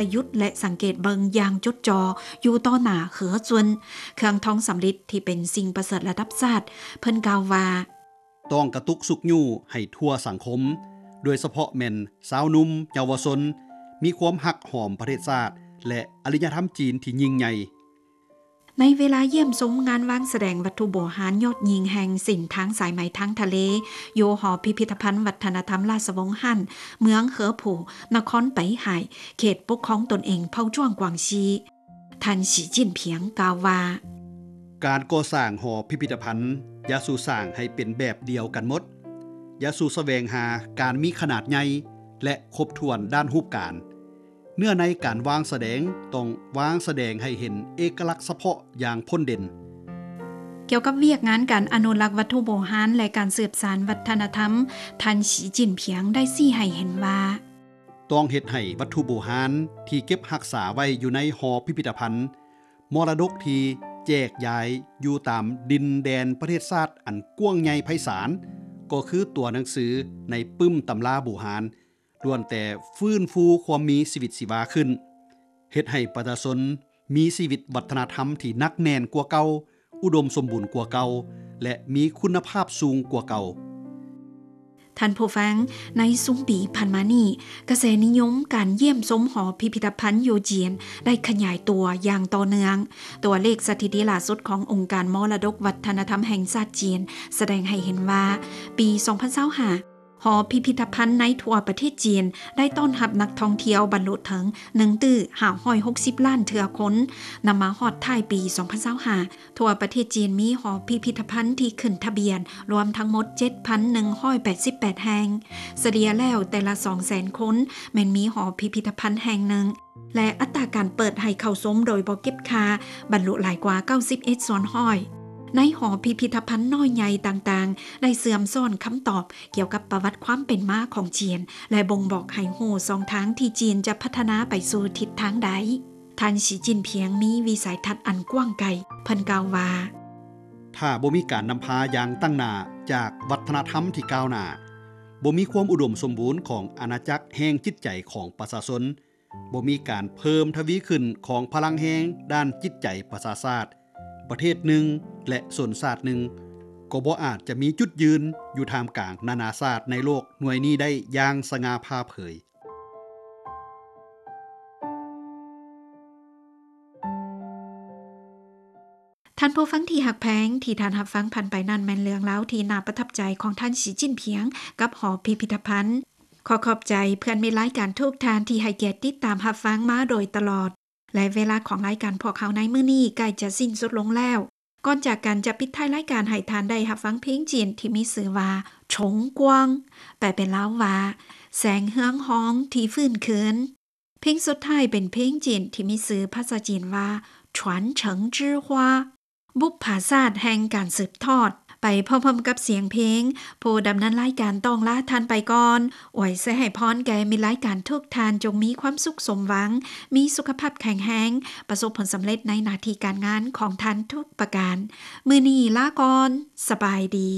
ຈະຢຸດ ແລະ ສັງເກດເບິ່ງຢ່າງຈົດຈໍ່ຢູ່ຕໍ່ໜ້າເຮືອຈຸນ ເຄື່ອງທອງສຳລິດທີ່ເປັນສິ່ງປະເສີດລະດັບຊາດ. ເພິ່ນກ່າວວ່າ: ຕ້ອງກະຕຸກຊຸກຍູ້ໃຫ້ທົ່ວສັງຄົມ, ໂດຍສະເພາະແມ່ນຊາວໜຸ່ມເຍົາວະຊົນ, ມີຄວາມຮັກຫອມປະເທດຊາດ ແລະ ອາລິຍະທຳຈີນທີ່ຍິ່ງໃຫຍ່. ໃນເວລາຢ້ຽມຊົມງານວາງສະແດງວັດຖຸບູຮານຍອດຍິ່ງແຫ່ງເສັ້ນທາງສາຍໄໝທາງທະເລ ຢູ່ຫໍພິພິທະພັນວັດທະນະທຳລາຊະວົງຮັນ ເມືອງເຮີຜູ ນະຄອນໄປຫາຍ ເຂດປົກຄອງຕົນເອງເຜົ່າຈວາງກວາງຊີ, ທ່ານ ສີຈິ້ນຜິງ ກ່າວວ່າ: ການກໍ່ສ້າງຫໍພິພິທະພັນ ຢ່າສູ່ສ້າງໃຫ້ເປັນແບບດຽວກັນໝົດ, ຢ່າສູ່ສະແຫວງຫາການມີຂະໜາດໃຫຍ່ ແລະ ຄົບຖ້ວນດ້ານຮູບການ. ເນື້ອໃນການວາງສະແດງຕ້ອງວາງສະແດງໃຫ້ເຫັນເອກະລັກສະເພາະຢ່າງພົ້ນເດັ່ນ. ກ່ຽວກັບວຽກງານການອະນຸລັກວັດຖຸບູຮານ ແລະ ການສືບສານວັດທະນະທຳ, ທ່ານ ສີຈິ້ນຜິງ ໄດ້ຊີ້ໃຫ້ເຫັນວ່າ: ຕ້ອງເຮັດໃຫ້ວັດຖຸບູຮານທີ່ເກັບຮັກສາໄວ້ຢູ່ໃນຫໍພິພິທະພັນ ມໍລະດົກທີ່ແຈກຢາຍຢູ່ຕາມດິນແດນປະເທດຊາດອັນກວ້າງໃຫຍ່ໄພສານ, ກໍຄືຕົວໜັງສືໃນປຶ້ມຕຳລາບູຮານ ລ້ວນແຕ່ຟື້ນຟູຄວາມມີຊີວິດຊີວາຂຶ້ນ, ເຮັດໃຫ້ປະຊາຊົນມີຊີວິດວັດທະນະທຳທີ່ໜັກແໜ້ນກວ່າເກົ່າ, ອຸດົມສົມບູນກວ່າເກົ່າ ແລະ ມີຄຸນນະພາບສູງກວ່າເກົ່າ. ທ່ານຜູ້ຟັງ, ໃນຊຸມປີຜ່ານມານີ້, ກະແສນິຍົມການຢ້ຽມຊົມຫໍພິພິທະພັນຢູ່ຈີນໄດ້ຂະຫຍາຍຕົວຢ່າງຕໍ່ເນື່ອງ. ຕົວເລກສະຖິຕິລ່າສຸດຂອງອົງການມໍລະດົກວັດທະນະທຳແຫ່ງຊາດຈີນ ສະແດງໃຫ້ເຫັນວ່າ ປີສອງພັນຊາວຫ້າ ຫໍພິພິທະພັນໃນທົ່ວປະເທດຈີນໄດ້ຕ້ອນຮັບນັກທ່ອງທ່ຽວບັນລຸເຖິງໜຶ່ງຕື້ຫ້າຮ້ອຍຫົກສິບລ້ານເທື່ອຄົນ. ນຳມາຮອດທ້າຍປີສອງພັນຊາວຫ້າ ທົ່ວປະເທດຈີນມີຫໍພິພິທະພັນທີ່ຂຶ້ນທະບຽນລວມທັງໝົດເຈັດພັນໜຶ່ງຮ້ອຍແປດສິບແປດແຫ່ງ. ສະເລ່ຍແລ້ວແຕ່ລະສອງແສນຄົນແມ່ນມີຫໍພິພິທະພັນແຫ່ງໜຶ່ງ ແລະ ອັດຕາການເປີດໃຫ້ເຂົ້າຊົມໂດຍບໍ່ເກັບຄ່າບັນລຸຫຼາຍກວ່າເກົ້າສິບເອັດສ່ວນຮ້ອຍ. ໃນຫໍພິພິທະພັນນ້ອຍໃຫຍ່ຕ່າງໆ ໄດ້ເຊື່ອມຊ້ອນຄຳຕອບກ່ຽວກັບປະຫວັດຄວາມເປັນມາຂອງຈີນ ແລະ ບົ່ງບອກໃຫ້ຮູ້ຊ່ອງທາງທີ່ຈີນຈະພັດທະນາໄປສູ່ທິດທາງໃດ. ທ່ານ ສີຈິ້ນຜິງ ມີວິໄສທັດອັນກວ້າງໄກ. ເພິ່ນກ່າວວ່າ: ຖ້າບໍ່ມີການນຳພາຢ່າງຕັ້ງໜ້າຈາກວັດທະນະທຳທີ່ກ້າວໜ້າ, ບໍ່ມີຄວາມອຸດົມສົມບູນຂອງອານາຈັກແຫ່ງຈິດໃຈຂອງປະຊາຊົນ, ບໍ່ມີການເພີ່ມທະວີຂຶ້ນຂອງພະລັງແຮງດ້ານຈິດໃຈປະຊາຊາດ, ປະເທດໜຶ່ງ ແລະ ຊົນຊາດໜຶ່ງ ກໍບໍ່ອາດຈະມີຈຸດຢືນຢູ່ທ່າມກາງນານາຊາດໃນໂລກໜ່ວຍນີ້ໄດ້ຢ່າງສະຫງ່າຜ່າເຜີຍ. ທ່ານຜູ້ຟັງທີ່ຮັກແພງ, ທີ່ທ່ານຮັບຟັງຜ່ານໄປນັ້ນແມ່ນເລື່ອງລາວທີ່ໜ້າປະທັບໃຈຂອງທ່ານ ສີຈິ້ນຜິງ ກັບຫໍພິພິທະພັນ. ຂໍຂອບໃຈເພື່ອນມິດລາຍການທຸກທ່ານທີ່ໃຫ້ກຽດຕິດຕາມຮັບຟັງມາໂດຍຕະຫຼອດ ແລະ ເວລາຂອງລາຍການພວກເຮົາໃນມື້ນີ້ໃກ້ຈະສິ້ນສຸດລົງແລ້ວ. ກ່ອນຈາກກັນຈະປິດທ້າຍລາຍການໃຫ້ທ່ານໄດ້ຮັບຟັງເພງຈີນທີ່ມີຊື່ວ່າ Chong Guang ແປເປັນລາວວ່າ ແສງເຮືອງຮອງທີ່ຟື້ນຄືນ. ເພງສຸດທ້າຍເປັນເພງຈີນທີ່ມີຊື່ພາສາຈີນວ່າ 传承之花 ບຸບຜາຊາດແຫ່ງການສືບທອດ. ໄປພ້ອມໆກັບສຽງເພງ, ຜູ້ດຳເນີນລາຍການຕ້ອງລາທ່ານໄປກ່ອນ. ອວຍໄຊໃຫ້ພອນແກ່ມິດລາຍການທຸກທ່ານ ຈົ່ງມີຄວາມສຸກສົມຫວັງ, ມີສຸຂະພາບແຂງແຮງ, ປະສົບຜົນສຳເລັດໃນໜ້າທີ່ການງານຂອງທ່ານທຸກປະການ. ມື້ນີ້ລາກ່ອນ, ສະບາຍດີ.